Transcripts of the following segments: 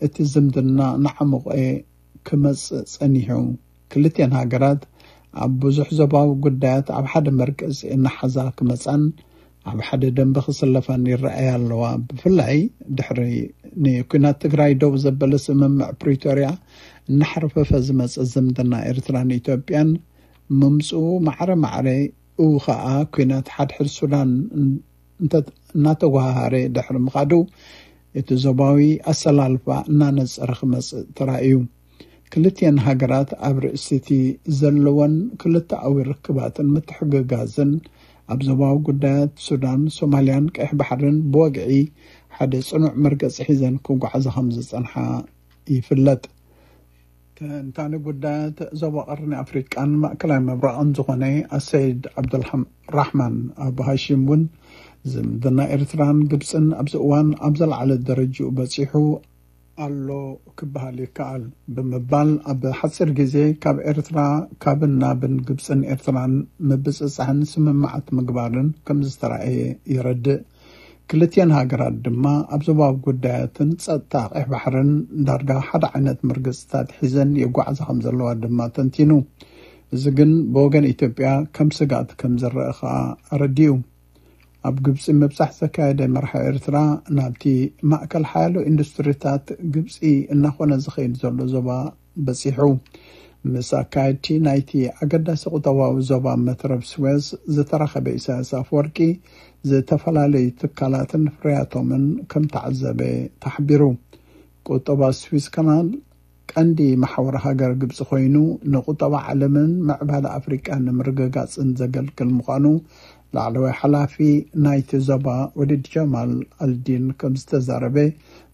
እቲ ዝምድና እናዓሞቐ ክመጽእ ጸኒሑ። ክልቲኣን ሃገራት ኣብ ብዙሕ ዞባዊ ጉዳያት ኣብ ሓደ መርገጺ እናሓዛ ክመጻን ኣብ ሓደ ደንበ ክስለፋን ይረኣያ ኣለዋ። ብፍላይ ድሕሪ ንኩናት ትግራይ ደው ዘበለ ስምምዕ ፕሪቶርያ እናሓርፈፈ ዝመጸ ዝምድና ኤርትራን ኢትዮጵያን ምምጽኡ ማዕረ ማዕረ፣ እው ከኣ ኩናት ሓድሕድ ሱዳን እንተ-፣ እናተጓሃሃረ ድሕሪ ምኻዱ፣ እቲ ዞባዊ ኣሰላልፋ እናነጸረ ክመጽእ ተራእዩ። ክልቲኣን ሃገራት ኣብ ርእሲ እቲ ዘለወን ክልተኣዊ ርክባትን ምትሕግጋዝን ኣብ ዞባዊ ጉዳያት ሱዳን፣ ሶማልያን ቀይሕ ባሕርን ብወግዒ ሓደ ጽኑዕ መርገጺ ሒዘን ክጓዓዛ ከም ዝጸንሓ ይፍለጥ። ተንታኒ ጉዳያት ዞባ ቀርኒ ኣፍሪቃን ማእከላይ ምብራቕን ዝኾነ ኣሰይድ ዓብዱልራሕማን ኣቡ ሃሺም እውን ዝምድና ኤርትራን ግብጽን ኣብዚ እዋን ኣብ ዘለዓለ ደረጃኡ በጺሑ ኣሎ ክበሃል ይከኣል ብምባል፣ ኣብ ሓጺር ግዜ ካብ ኤርትራ ካብን ናብን ግብጽን ኤርትራን ምብጽጻሕን ስምምዓት ምግባርን ከም ዝተራእየ የረድእ። ክልቲኣን ሃገራት ድማ ኣብ ዞባዊ ጉዳያትን ጸጥታ ቀይሕ ባሕርን ዳርጋ ሓደ ዓይነት መርገጽታት ሒዘን ይጓዓዛ ከም ዘለዋ ድማ ተንቲኑ። እዚ ግን ብወገን ኢትዮጵያ ከም ስግኣት ከም ዝረአ ከኣ ኣረዲኡ። ኣብ ግብጺ ምብጻሕ ዘካየደ መራሒ ኤርትራ፣ ናብቲ ማእከል ሓያሎ ኢንዱስትሪታት ግብጺ እናኾነ ዝኸይድ ዘሎ ዞባ በጺሑ። ምስ ኣካየድቲ ናይቲ ኣገዳሲ ቁጠባዊ ዞባ መትረብ ስዌዝ ዝተራኸበ ኢሳያስ ኣፈወርቂ፣ ዝተፈላለዩ ትካላትን ፍርያቶምን ከም ተዓዘበ ተሓቢሩ። ቁጠባ ስዊዝ ካናል ቀንዲ መሓውር ሃገር ግብጺ ኮይኑ፣ ንቁጠባ ዓለምን ምዕባለ ኣፍሪቃን ንምርግጋጽን ዘገልግል ምዃኑ ላዕለዋይ ሓላፊ ናይቲ ዞባ ወሊድ ጀማል ኣልዲን ከም ዝተዛረበ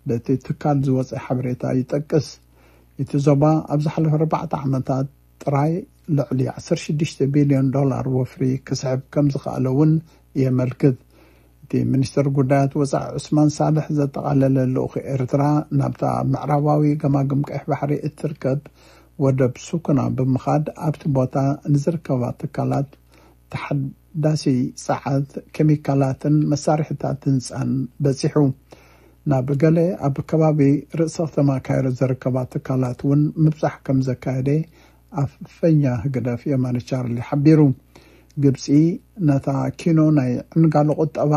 በቲ ትካል ዝወጸ ሓበሬታ ይጠቅስ። እቲ ዞባ ኣብ ዝሓለፈ ኣርባዕተ ዓመታት ጥራይ ልዕሊ ዓሰርተ ሽዱሽተ ቢልዮን ዶላር ወፍሪ ክስሕብ ከም ዝኸኣለ እውን የመልክት። እቲ ሚኒስትር ጉዳያት ወጻኢ ዑስማን ሳልሕ ዘጠቓለለ ልኡኽ ኤርትራ ናብታ ምዕራባዊ ገማግም ቀይሕ ባሕሪ እትርከብ ወደብ ሱኩና ብምኻድ፣ ኣብቲ ቦታ ንዝርከባ ትካላት ተሓዳሲ ጸዓት፣ ኬሚካላትን መሳርሒታት ህንጻን በጺሑ። ናብ ገለ ኣብ ከባቢ ርእሰ ከተማ ካይሮ ዝርከባ ትካላት እውን ምብጻሕ ከም ዘካየደ ኣፈኛ ህግደፍ የማነ ቻርሊ ሓቢሩ። ግብጺ ነታ ኪኖ ናይ ዕንጋሎ ቁጠባ